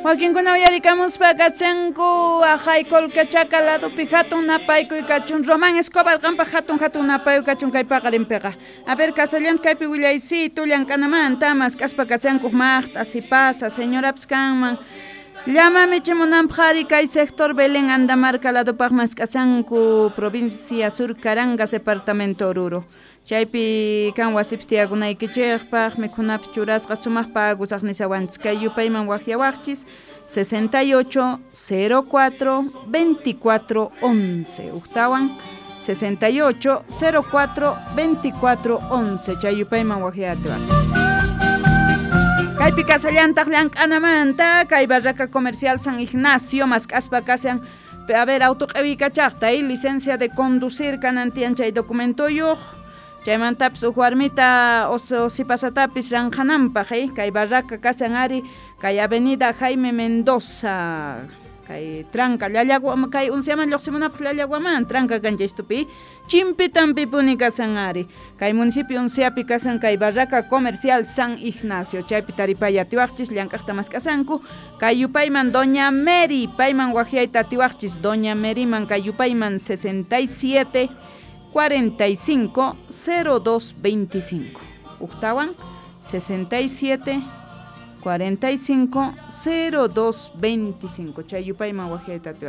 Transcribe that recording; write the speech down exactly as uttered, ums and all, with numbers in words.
Wakinkuna uyarikamuspa kachanku ajay Colquechaca ladopi hatun napaykuy kachun Román Escobar qanpaq hatun hatun napaykuy kachun kay paqarinpiqa. A ver, kasallanta kaypi willaysitu llank'anamanta mask'aspa kachanku maqt'a sipasa señorapis kanman. Llama michimunanpaq ari kay sector Belén Andamarca ladopaq mask'asanku provincia Sur Carangas departamento Oruro. Chaypi kan wasipis tiyakunaykichikpaq mikhunapis churasqa sumaq pagusaq nisawanchis kay yupayman waqyawaqchis sesenta y ocho cero cuatro veinticuatro once uktawan sesenta y ocho cero cuatro veinticuatro once chay yupayman waqyatiwaq. Kaypi kasallantaq llank'anamanta kay barraca comercial San Ignacio mask'aspa kasan a ver auto q'iwikachaqta y licencia de conducir kanan tiyan chay documentoyuq chaymantapis uj warmita o sipasatapis ranqhananpaq eh kay barraca kasan ari kay avenida Jaime Mendoza kay tranca Llallagua kay unsiaman lluqsimunapaq Llallaguaman tranca kanchaystupi chimpitanpi puni kasan ari kay municipio unsiapi kasan kay barraca comercial San Ignacio chaypi taripay atiwaqchis llank'aqta mask'asanku kay yupayman Doña Mary payman waqyayta atiwaqchis Doña Maryman kay yupayman sesenta y siete cuarenta y cinco cero dos veinticinco Uktawan sesenta y siete cuarenta y cinco cero dos veinticinco chay yupayman waqyayta atiwaqchis.